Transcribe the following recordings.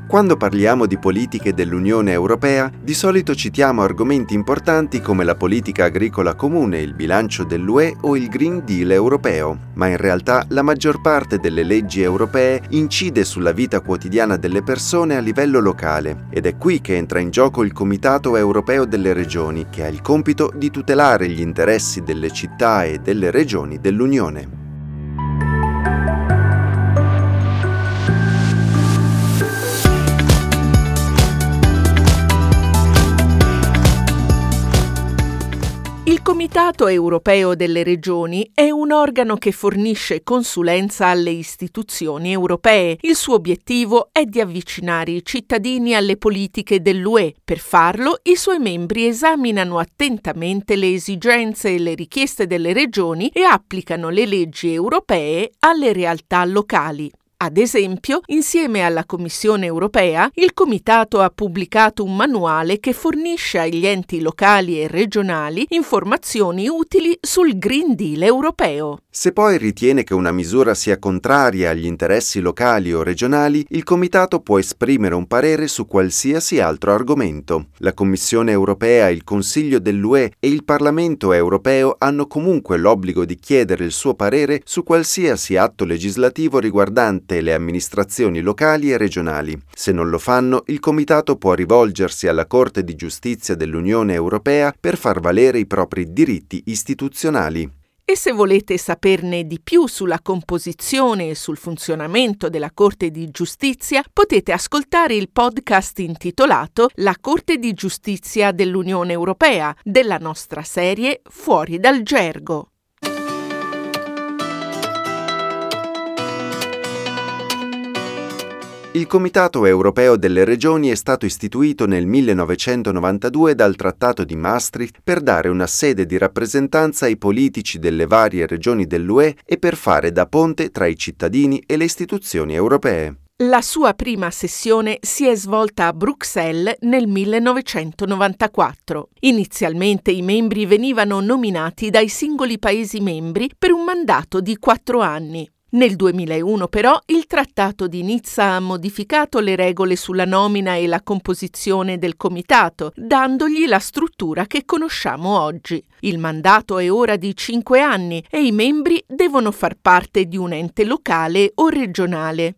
Quando parliamo di politiche dell'Unione Europea, di solito citiamo argomenti importanti come la politica agricola comune, il bilancio dell'UE o il Green Deal europeo, ma in realtà la maggior parte delle leggi europee incide sulla vita quotidiana delle persone a livello locale ed è qui che entra in gioco il Comitato Europeo delle Regioni, che ha il compito di tutelare gli interessi delle città e delle regioni dell'Unione. Il Comitato europeo delle regioni è un organo che fornisce consulenza alle istituzioni europee. Il suo obiettivo è di avvicinare i cittadini alle politiche dell'UE. Per farlo, i suoi membri esaminano attentamente le esigenze e le richieste delle regioni e applicano le leggi europee alle realtà locali. Ad esempio, insieme alla Commissione europea, il Comitato ha pubblicato un manuale che fornisce agli enti locali e regionali informazioni utili sul Green Deal europeo. Se poi ritiene che una misura sia contraria agli interessi locali o regionali, il Comitato può esprimere un parere su qualsiasi altro argomento. La Commissione europea, il Consiglio dell'UE e il Parlamento europeo hanno comunque l'obbligo di chiedere il suo parere su qualsiasi atto legislativo riguardante le amministrazioni locali e regionali. Se non lo fanno, il Comitato può rivolgersi alla Corte di Giustizia dell'Unione Europea per far valere i propri diritti istituzionali. E se volete saperne di più sulla composizione e sul funzionamento della Corte di Giustizia, potete ascoltare il podcast intitolato La Corte di Giustizia dell'Unione Europea della nostra serie Fuori dal Gergo. Il Comitato europeo delle regioni è stato istituito nel 1992 dal Trattato di Maastricht per dare una sede di rappresentanza ai politici delle varie regioni dell'UE e per fare da ponte tra i cittadini e le istituzioni europee. La sua prima sessione si è svolta a Bruxelles nel 1994. Inizialmente i membri venivano nominati dai singoli Paesi membri per un mandato di 4 anni. Nel 2001 però il Trattato di Nizza ha modificato le regole sulla nomina e la composizione del Comitato, dandogli la struttura che conosciamo oggi. Il mandato è ora di 5 anni e i membri devono far parte di un ente locale o regionale.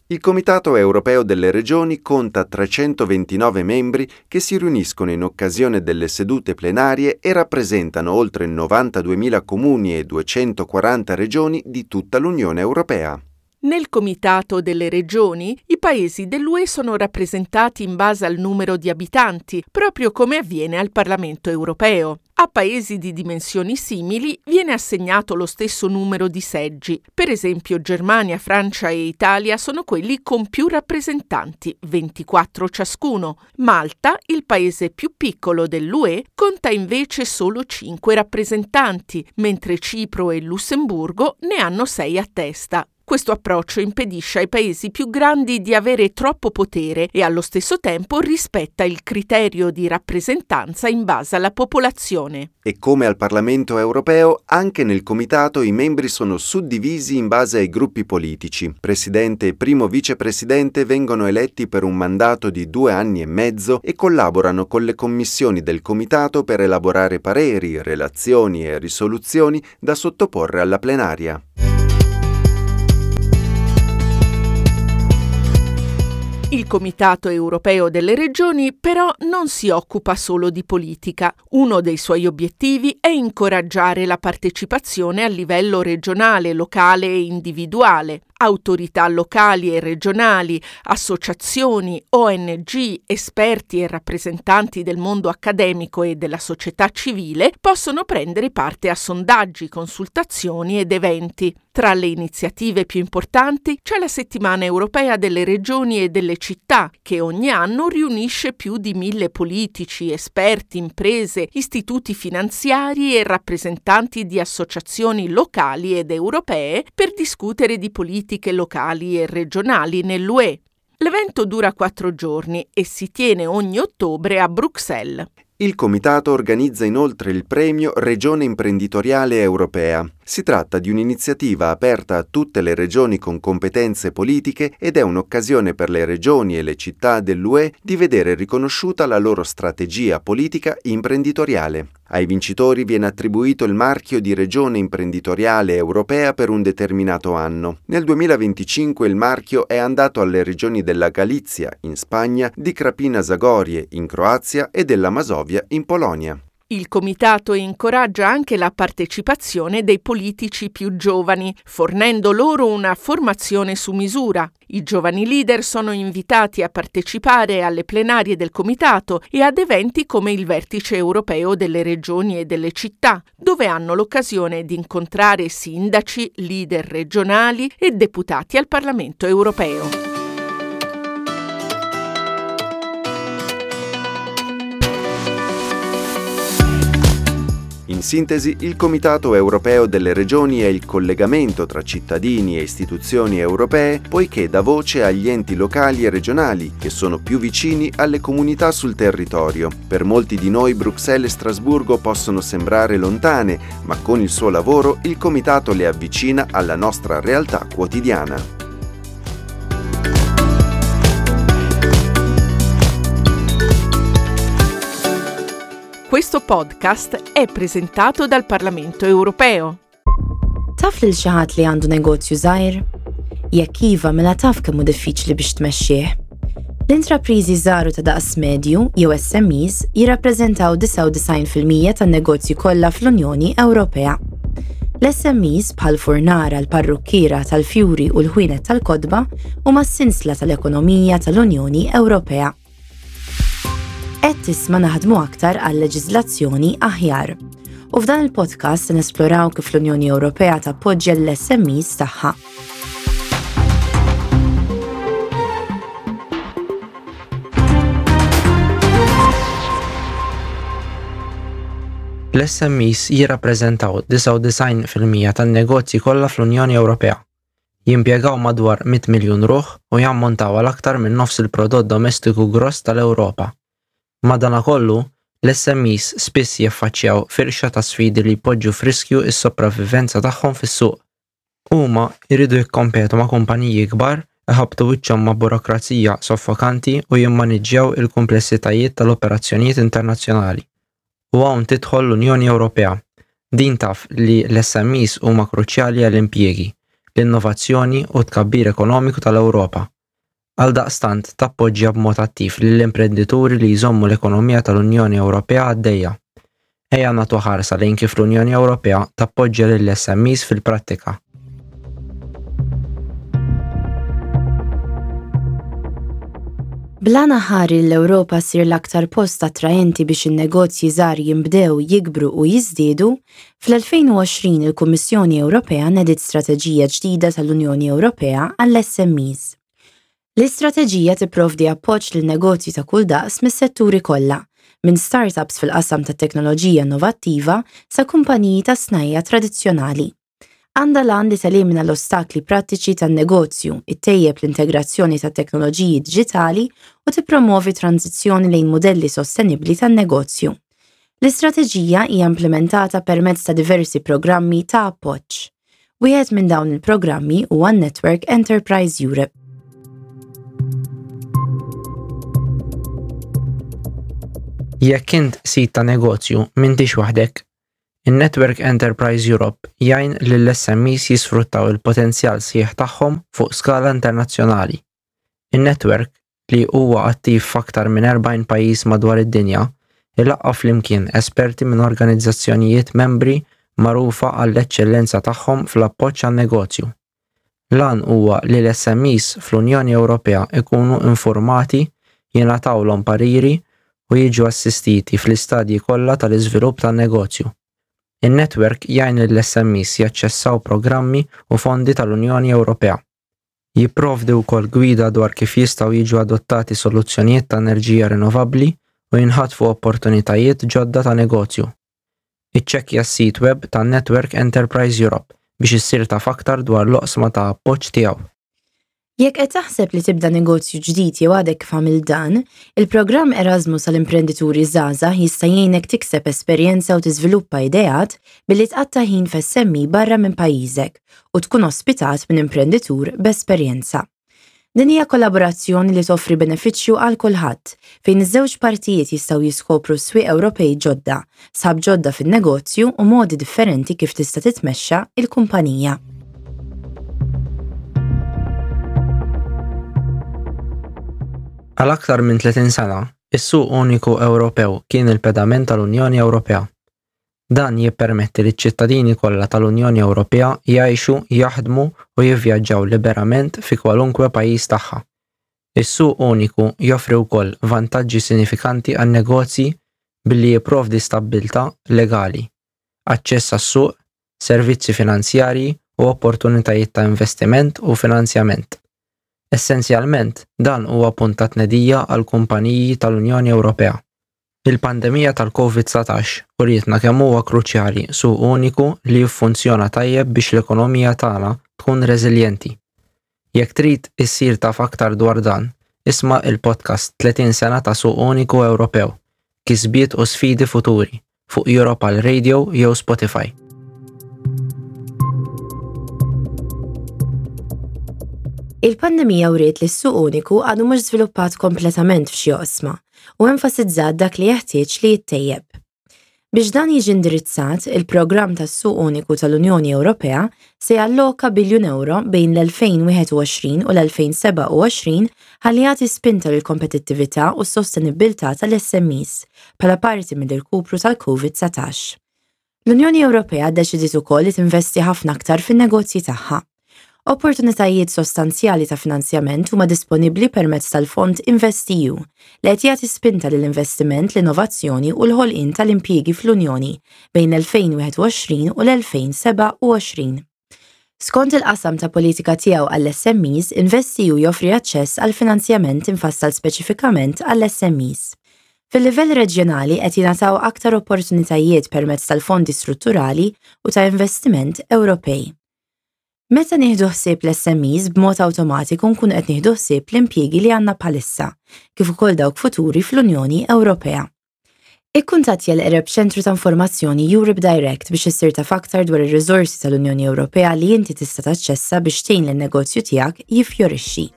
Il Comitato europeo delle regioni conta 329 membri che si riuniscono in occasione delle sedute plenarie e rappresentano oltre 92.000 comuni e 240 regioni di tutta l'Unione Europea. Nel Comitato delle Regioni, i paesi dell'UE sono rappresentati in base al numero di abitanti, proprio come avviene al Parlamento europeo. A paesi di dimensioni simili viene assegnato lo stesso numero di seggi. Per esempio Germania, Francia e Italia sono quelli con più rappresentanti, 24 ciascuno. Malta, il paese più piccolo dell'UE, conta invece solo 5 rappresentanti, mentre Cipro e Lussemburgo ne hanno 6 a testa. Questo approccio impedisce ai paesi più grandi di avere troppo potere e allo stesso tempo rispetta il criterio di rappresentanza in base alla popolazione. E come al Parlamento europeo, anche nel Comitato i membri sono suddivisi in base ai gruppi politici. Presidente e primo vicepresidente vengono eletti per un mandato di 2 anni e mezzo e collaborano con le commissioni del Comitato per elaborare pareri, relazioni e risoluzioni da sottoporre alla plenaria. Il Comitato europeo delle regioni però non si occupa solo di politica. Uno dei suoi obiettivi è incoraggiare la partecipazione a livello regionale, locale e individuale. Autorità locali e regionali, associazioni, ONG, esperti e rappresentanti del mondo accademico e della società civile possono prendere parte a sondaggi, consultazioni ed eventi. Tra le iniziative più importanti c'è la Settimana Europea delle Regioni e delle Città, che ogni anno riunisce più di 1000 politici, esperti, imprese, istituti finanziari e rappresentanti di associazioni locali ed europee per discutere di politiche locali e regionali nell'UE. L'evento dura 4 giorni e si tiene ogni ottobre a Bruxelles. Il Comitato organizza inoltre il premio Regione Imprenditoriale Europea. Si tratta di un'iniziativa aperta a tutte le regioni con competenze politiche ed è un'occasione per le regioni e le città dell'UE di vedere riconosciuta la loro strategia politica imprenditoriale. Ai vincitori viene attribuito il marchio di regione imprenditoriale europea per un determinato anno. Nel 2025 il marchio è andato alle regioni della Galizia, in Spagna, di Krapina Zagorie, in Croazia e della Masovia, in Polonia. Il comitato incoraggia anche la partecipazione dei politici più giovani, fornendo loro una formazione su misura. I giovani leader sono invitati a partecipare alle plenarie del comitato e ad eventi come il Vertice europeo delle regioni e delle città, dove hanno l'occasione di incontrare sindaci, leader regionali e deputati al Parlamento europeo. In sintesi, il Comitato europeo delle regioni è il collegamento tra cittadini e istituzioni europee, poiché dà voce agli enti locali e regionali, che sono più vicini alle comunità sul territorio. Per molti di noi Bruxelles e Strasburgo possono sembrare lontane, ma con il suo lavoro il Comitato le avvicina alla nostra realtà quotidiana. Questo podcast è presentato dal Parlamento Europeo. Taf lil xi ħadd li għandu negozju żgħir? Jekk iva, mela taf kemm hu diffiċli biex tmexxih. L-intrapriżi żgħar u ta' daqs medju, jew SMEs, jirrappreżentaw 99% tan-negozji kollha fl-Unjoni Ewropea. L-SMEs, bħall-furnara, l-parrukkiera tal-fjuri u l-ħwienet tal-kotba, huma s-sinsla tal-ekonomija tal-Unjoni Ewropea. Qed tisma' naħdmu aktar għal leġiżlazzjoni aħjar. U f'dan il-podcast se nesploraw kif l-Unjoni Ewropea tappoġġja l-SMEs tagħha. L-SMEs jirrappreżentaw 99% tan-negozji kollha fl-Unjoni Ewropea. Jimpjegaw madwar 100 miljun ruħ u jammontaw għal aktar minn nofs il-prodott domestiku gross tal-Ewropa. Madankollu, l-SMEs spiss jiffaċċjaw firxa ta' sfidi li jpoġġu f'riskju s-sopravivenza tagħhom fis-suq. Huma jridu jikkompetu ma' kumpaniji kbar, iħabbtu wiċċhom ma' burokrazija soffokanti u jimmaniġġjaw il-kumplessitajiet tal-operazzjonijiet internazzjonali. U hawn tidħol l-Unjoni Ewropea. Din taf li l-SMEs huma kruċjali għall-impjiegi, l-innovazzjoni u t-tkabbir ekonomiku tal-Ewropa. Għaldaqstant tappoġġja b'mod attiv lill-imprendituri li jżommu l-ekonomija tal-Unjoni Ewropea għaddejja. Ejja nagħtu ħarsa lejn kif l-Unjoni Ewropea tappoġġja lill-SMEs fil-prattika. Bl-għan aħħari li l-Ewropa ssir l-aktar post attraenti biex in-negozji żgħar jinbdew, jikbru u jiżdiedu, fl-2020 il-Kummissjoni Ewropea nediet strateġija ġdida tal-Unjoni Ewropea għall-SMEs. L-istrateġija tipprovdi appoġġ lil negozji ta' kull daqs mis-setturi kollha, minn startups fil-qasam tat-teknoloġija innovattiva sa kumpaniji tas-snajja' tradizzjonali. Għandha l-għan li telimina l-ostakli prattiċi tan-negozju, ittejjeb l-integrazzjoni tat-teknoloġiji diġitali u tippromwovi tranżizzjoni lejn mudelli sostenibbli tan-negozju. L-istrateġija hija implimentata permezz ta' diversi programmi ta' appoġġ. Wieħed minn dawn il-programmi huwa n-Network Enterprise Europe. Jekk int sid ta' negozju, m'intix waħdek. In-Network Enterprise Europe jgħin lill-SMEs jisfruttaw il-potenzjal sħiħ tagħhom fuq skala internazzjonali. In-netwerk, li huwa attiv f'aktar minn 40 pajjiż madwar id-dinja, ilaqqa' flimkien esperti minn organizzazzjonijiet membri magħrufa għall-eċċellenza tagħhom fl-appoġġ għan-negozju. L-għan huwa li l-SMEs fl-Unjoni Ewropea jkunu infurmati, jingħatawlhom pariri u jiġu assistiti fl-istadji kollha tal-iżvilupp tan-negozju. In-netwerk jgħin lill-SMEs jaċċessaw programmi u fondi tal-Unjoni Ewropea. Jipprovdi wkoll gwida dwar kif jistgħu jiġu adottati soluzzjonijiet ta' enerġija rinnovabbli u jinħatfu opportunitajiet ġodda ta' negozju. Iċċekkja s-sit web tan-Network Enterprise Europe biex issir taf aktar dwar l-oqsma ta' appoġġ tiegħu. Jekk qed taħseb li tibda negozju ġdid jew għadek kif għamilt dan, il-programm Erasmus għal imprendituri żgħażagħ jista' jgħinek tikseb esperjenza u tiżviluppa ideat billi tqatta' ħin f'SME barra minn pajjiżek u tkun ospitat minn imprenditur b'esperjenza. Din hija kollaborazzjoni li toffri benefiċċju għal kulħadd, fejn iż-żewġ partijiet jistgħu jiskopru swieq Ewropej ġodda, sħab ġodda fin-negozju u modi differenti kif tista' titmexxa il-kumpanija. Għal aktar minn 30 sena, is-suq uniku Ewropew kien il-pedament tal-Unjoni Ewropea. Dan jippermetti liċ-ċittadini kollha tal-Unjoni Ewropea jgħixu, jaħdmu u jivvjaġġaw liberament fi kwalunkwe pajjiż tagħha. Is-suq uniku joffri wkoll vantaġġi sinifikanti għan-negozji billi jipprovdi stabbiltà legali, aċċess għas-suq, servizzi finanzjarji u opportunitajiet ta' investiment u finanzjament. Essenzjalment, dan huwa punt ta' tnedija għall-kumpaniji tal-Unjoni Ewropea. Il-pandemija tal-Covid 19 urietna kemm huwa kruċjali suq uniku li jiffunzjona tajjeb biex l-ekonomija tagħna tkun reżiljenti. Jekk trid issir taf aktar dwar dan, isma' il-podcast 30 sena ta' Suq Uniku Ewropew, Kisbiet u Sfidi Futuri fuq Europal Radio jew Spotify. Il-pandemija wriet li s-suq uniku għadu mhux żviluppat kompletament f'xi oqsma u enfasizzat dak li jeħtieġ li jittejjeb. Biex dan jiġi indirizzat, il-programm tas-Suq Uniku tal-Unjoni Ewropea se jalloka biljun ewro bejn l-2021 u l-2027 ħalli jagħti spinta lill-kompetittività u s-sostenibbiltà tal-SMEs bħala parti mill-irkupru tal-COVID-19. L-Unjoni Ewropea ddeċidiet ukoll li tinvesti ħafna aktar fin-negozji tagħha. Opportunitajiet sostanzjali ta' finanzjament huma disponibbli permezz tal-fond InvestEU, li qed jagħti spinta lill-investiment, l-innovazzjoni u l-ħolqien tal-impjiegi fl-Unjoni bejn l-2021 u l-2027. Skont il-qasam ta' politika tiegħu għall-SMEs, InvestEU joffri aċċess għal finanzjament imfassal speċifikament għall-SMEs. Fil-livell reġjonali qed jingħataw aktar opportunitajiet permezz tal-fondi strutturali u ta' investiment Ewropej. Meta nieħdu ħsieb l-SMEs b'mod awtomatiku nkunu qed nieħdu ħsieb l-impjiegi li għandna bħalissa, kif ukoll dawk futuri fl-Unjoni Ewropea. Ikkuntattja l-eqreb ċentru ta' informazzjoni Europe Direct biex issir taf aktar dwar ir-riżorsi tal-Unjoni Ewropea li inti tista' taċċessa biex tgħin lin-negozju tiegħek jiffjorixxi.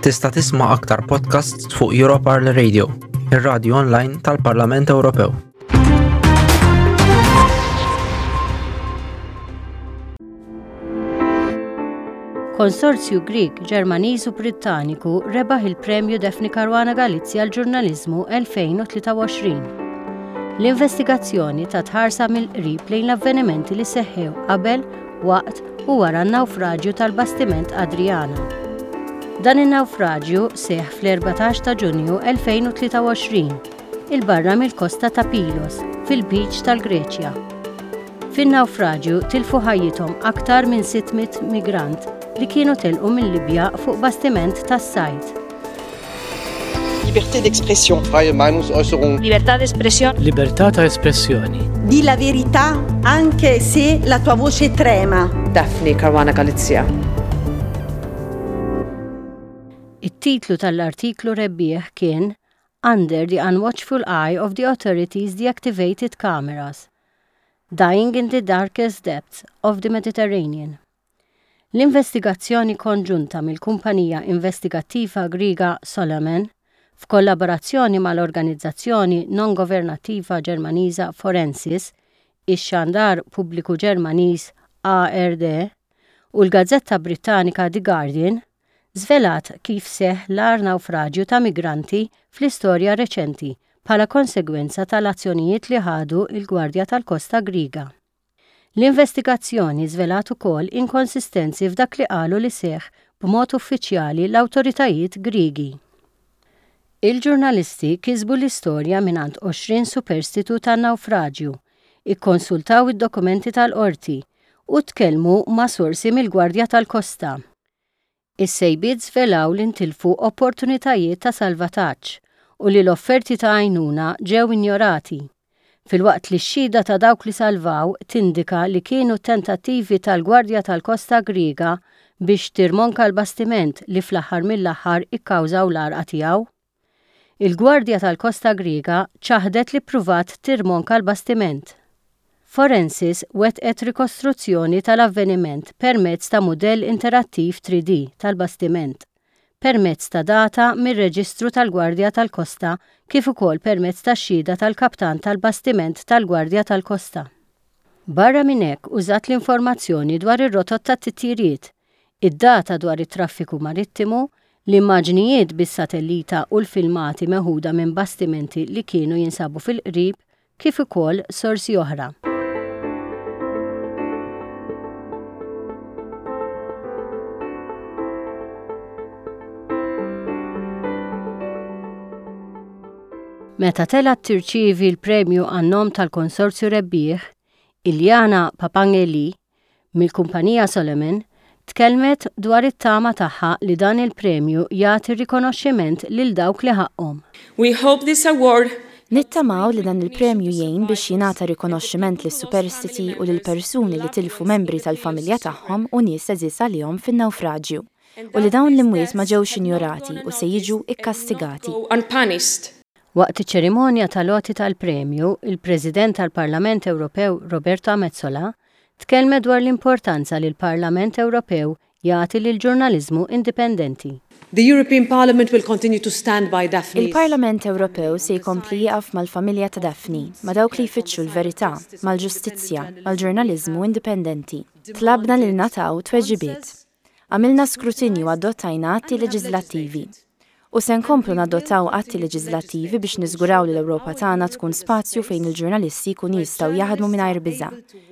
Tista' tisma' aktar podcasts fuq Europarl Radio, ir-radju online tal-Parlament Ewropew. Konsorzju Grieg, Ġermaniż u Brittaniku rebaħ il-Premju Daphne Caruana Galizia għall-Ġurnaliżmu 2023. L-investigazzjoni tat ħarsa mill-qrib lejn l-avvenimenti li seħħew qabel, waqt u wara n-nawfraġju tal-bastiment Adriana. Dan in-nawfraġju seħħ fl-14 ta' Ġunju 2023, 'il barra mill-kosta ta' Pilos, fil-Lbiċ tal-Greċja. Fin-nawfraġju tilfu ħajjithom aktar minn 600 migrant li kienu telqu mil-Libja fuq bastiment tas-sajd. Liberté d'expression. Freie Meinungsäußerung. Libertà d'espressione. Libertà ta' espressjoni. Di la verità anche se la tua voce trema. Daphne Caruana Galizia. It-titlu tal-artiklu rebbieħ kien Under the Unwatchful Eye of the Authorities Deactivated Cameras, Dying in the Darkest Depths of the Mediterranean. L-investigazzjoni konġunta mill-kumpanija investigattiva Griega Solomon, f'kollaborazzjoni mal-organizzazzjoni non-governattiva Ġermaniża Forensis, ix-xandar pubbliku Ġermaniż ARD u l-gazzetta Brittanika The Guardian, żvelat kif seħħ l-agħar nawfraġju ta' migranti fl-istorja reċenti bħala konsegwenza tal-azzjonijiet li ħadu l-Gwardja tal-Kosta Griega. L-investigazzjoni żvelat ukoll inkonsistenzi f'dak li qalu li seħħ b'mod uffiċjali l-awtoritajiet Griegi. Il-ġurnalisti kisbu l-istorja mingħand 20 superstitu tan-nawfraġju, ikkonsultaw id-dokumenti tal-qorti u tkellmu ma' sorsi mill-Gwardja tal-Kosta. Is-sejbiet żvelaw li ntilfu opportunitajiet ta' salvataġġ u li l-offerti ta' għajnuna ġew injorati. filwaqt li x-xhieda ta' dawk li salvaw tindika li kienu t-tentattivi tal-Gwardja tal-Kosta Griega biex tirmonka l-bastiment li fl-aħħar mill-aħħar ikkawżaw l-għarqa tiegħu. Il-Gwardja tal-Kosta Griega ċaħdet li ppruvat tirmonka l-bastiment. Forensys wettqet rikostruzzjoni tal-avveniment permezz ta' mudell interattiv 3D tal-bastiment, permezz ta' data mir-reġistru tal-Gwardja tal-Kosta kif ukoll permezz tax-xhieda tal-kaptan tal-bastiment tal-Gwardja tal-Kosta. Barra minn hekk użat l-informazzjoni dwar ir-rotot tat-titjiriet, id-data dwar it-traffiku marittimu, l-immaġnijiet bis-satellita u l-filmati meħuda minn bastimenti li kienu jinsabu fil-qrib kif ukoll sorsi oħra. Meta telgħet tirċievi l-premju għan-nom tal-konsorzju rebbieħ, Iliana Papangeli, mill-kumpanija Solomon, tkellmet dwar it-tama tagħha li dan il-premju jagħti rikonoxximent lil dawk li ħaqqhom. We hope this award Nittamaw li dan il-premju jgħin biex jingħata rikonoxximent lis-superstiti u lill-persuni li tilfu membri tal-familja tagħhom u nies għeżież għalihom fin-nawfraġju, u li dawn l-imwiet ma ġewx injorati u se jiġu ikkastigati. Waqt iċ-ċerimonja tal-għoti tal-premju, il-President tal-Parlament Ewropew Roberta Metsola tkellmet dwar l-importanza li l-Parlament Ewropew jagħti lill-ġurnaliżmu indipendenti. The European Parliament will continue to stand by Daphne's. Il-Parlament Ewropew se jkompli jieqaf mal-familja ta' Daphne, ma' dawk li jfittxu l-verità, mal-ġustizzja, mal-ġurnaliżmu indipendenti. Tlabna li ningħataw tweġibiet. Għamilna skrutinju u adottajna atti leġiżlattivi. U se nkomplu nadottaw atti leġiżlattivi biex niżguraw li l-Ewropa tagħna tkun spazju fejn il-ġurnalisti jkunu jistgħu jaħdmu mingħajr biża',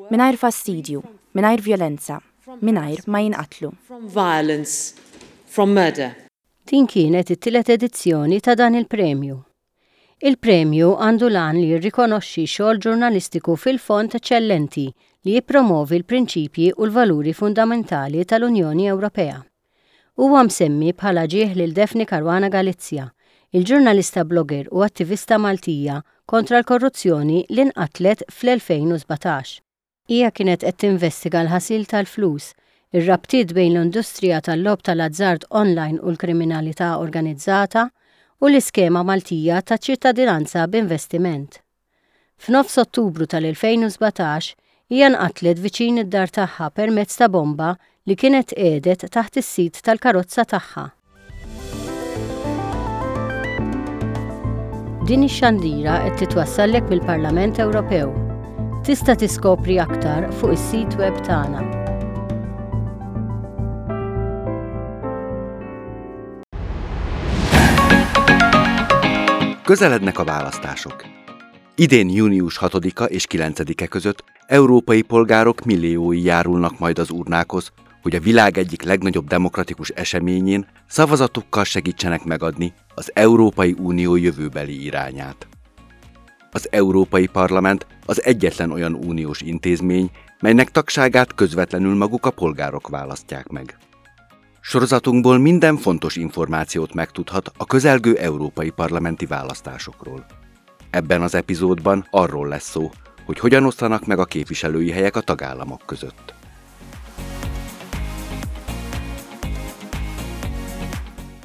mingħajr fastidju, mingħajr vjolenza, mingħajr ma jinqatlu. From violence, from murder. Din kienet it-tielet edizzjoni ta' dan il-premju. Il-premju għandu l-għan li jirrikonoxxi xogħol ġurnalistiku fil-fond eċċellenti li jippromovi l-prinċipji u l-valuri fundamentali tal-Unjoni Ewropea. Huwa msemmi bħala ġieħ lil Daphne Caruana Galizia, il-ġurnalista blogger u attivista Maltija kontra l-korruzzjoni li nqatlet fl-2017. Hija kienet qed tinvestiga l-ħasil tal-flus, ir-rabtiet bejn l-industrija tal-logħob tal-azzard online u l-kriminalità organizzata, u l-iskema Maltija ta' ċittadinanza b'investiment. F'nofs Ottubru tal-2017, hija nqatlet viċin id-dar tagħha permezz ta' bomba li kienet tqiegħdet taħt is-sit tal-karozza tagħha. Din ix-xandira qed titwassallek mill-Parlament Ewropew. Tista' tiskopri aktar fuq is-sit web tagħna. Közelednek a választások. Idén június 6-a és 9-e között európai polgárok milliói járulnak majd az urnákhoz, hogy a világ egyik legnagyobb demokratikus eseményén szavazatukkal segítsenek megadni az Európai Unió jövőbeli irányát. Az Európai Parlament az egyetlen olyan uniós intézmény, melynek tagságát közvetlenül maguk a polgárok választják meg. Sorozatunkból minden fontos információt megtudhat a közelgő európai parlamenti választásokról. Ebben az epizódban arról lesz szó, hogy hogyan osztanak meg a képviselői helyek a tagállamok között.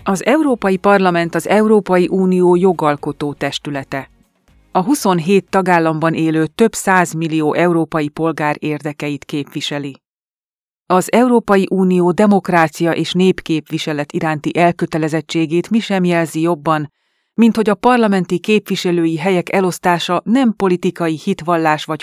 Az Európai Parlament az Európai Unió jogalkotó testülete. A 27 tagállamban élő több százmillió európai polgár érdekeit képviseli. Az Európai Unió demokrácia és népképviselet iránti elkötelezettségét mi sem jelzi jobban, mint hogy a parlamenti képviselői helyek elosztása nem politikai hitvallás vagy